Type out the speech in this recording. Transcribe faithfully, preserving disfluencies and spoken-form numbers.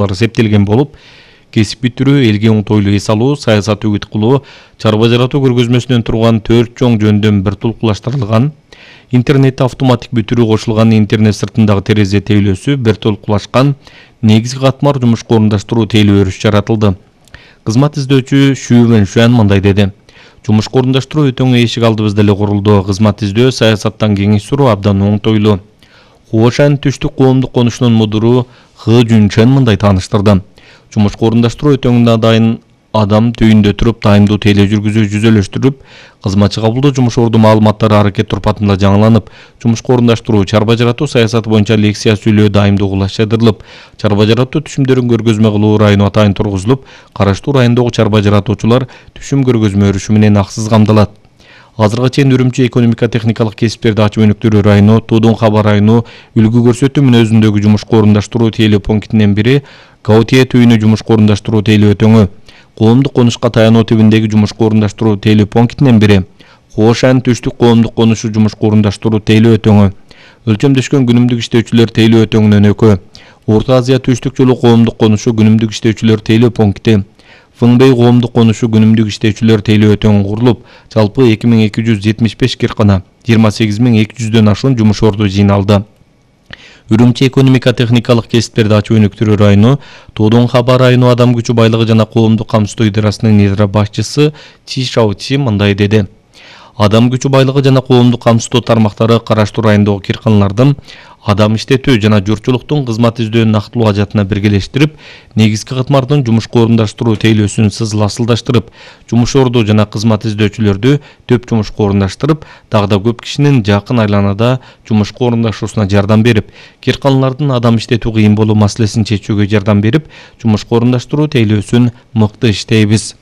эсептелген болуп, кесип бүтүрүү, элге оңтойлуу эс алуу, саясат үгүт кылуу, чарба жаратуу көргөзмөсүнөн турган төрт чоң жөндөм бир толкулаштырылган, интернетти автоматик бүтүрүү кошулган, интернет сыртындагы терезе тейлөөсү бир толкулашкан, негизги катмар жумушка орундаштыруу тейлөө өрүш жаратылды. Кызмат издөөчү Шу Вэншуан мындай деди: жумушка орундаштыруу өтөң эшик алдыбызда эле курулду. Кызмат издөө, саясаттан кеңеш суроо абдан оңтойлуу. Хуошан түштүк коомдук конушунун мудуру Хы Жунчен мындай тааныштырды: жумушка орундаштыруу өтөңүнө дайын адам түйүндө туруп тайымдуу тейлөө жүргүзүү жүзөлөштүрүп, кызматчы кабылдоо жумуш орду маалыматтары аракет турпатында жаңыланып, жумушка орундаштыруу, чарба жаратуу саясаты боюнча лекция сүйлөө дайымдуу кулаштырылып, чарба жаратуу түшүмдөрүн көргөзмө кылуу району атайын тургузулуп, караштуу райондогу чарба жаратуучулар түшүм көргөзмө өрүшү менен аксыз камдалат. Азыркыга чейин Үрүмчү экономика техникалык кесиптерди ачып өнүктүрүү району, Туудун Хаба району үлгү көрсөтүү мүнөзүндөгү жумушка орундаштыруу тейлөө пунктинен бири Гаутие түйүнү жумушка орундаштыруу тейлөө өтөңү, коомдук конушка таянуу тибиндеги жумушка орундаштыруу тейлөө пунктинен бири Хуошан түштүк коомдук конушу жумушка орундаштыруу тейлөө өтөңү, өлчөмдөшкөн күнүмдүк иштөөчүлөр тейлөө өтөңүнөн экөө, Орто Азия түштүк жолу коомдук конушу күнүмдүк иштөөчүлөр тейлөө пункти, Фыңбей коомдук конушу күнүмдүк иштөөчүлөр тейлөө өтөңү курулуп, жалпы эки миң эки жүз жетимиш беш киркана, жыйырма сегиз миң эки жүздөн ашуун жумуш орду жыйналды. Үрүмчү экономика техникалык кесиптерди ачып өнүктүрүү району, Туудун Хаба району адам күчү байлыгы жана коомдук камсыздоо идарасынын идара башчысы Чи Шаочи мындай деди: адам күчү байлыгы жана коомдук камсыздоо тармактары караштуу райондогу кирканалардын адам иштетүү жана журтчулуктун кызмат издөө нактылуу ажатына биргелештирип, негизги катмардын жумушка орундаштыруу тейлөөсүн сызыл асылдаштырып, жумуш орду жана кызмат издөөчүлөрдү төп жумушка орундаштырып, дагы да көп кишинин жакын айланада жумушка орундашуусуна жардам берип, кирканалардын адам иштетүү кыйын болуу маселесин чечүүгө жардам берип, жумушка орундаштыруу тейлөөсүн мыкты иштейбиз.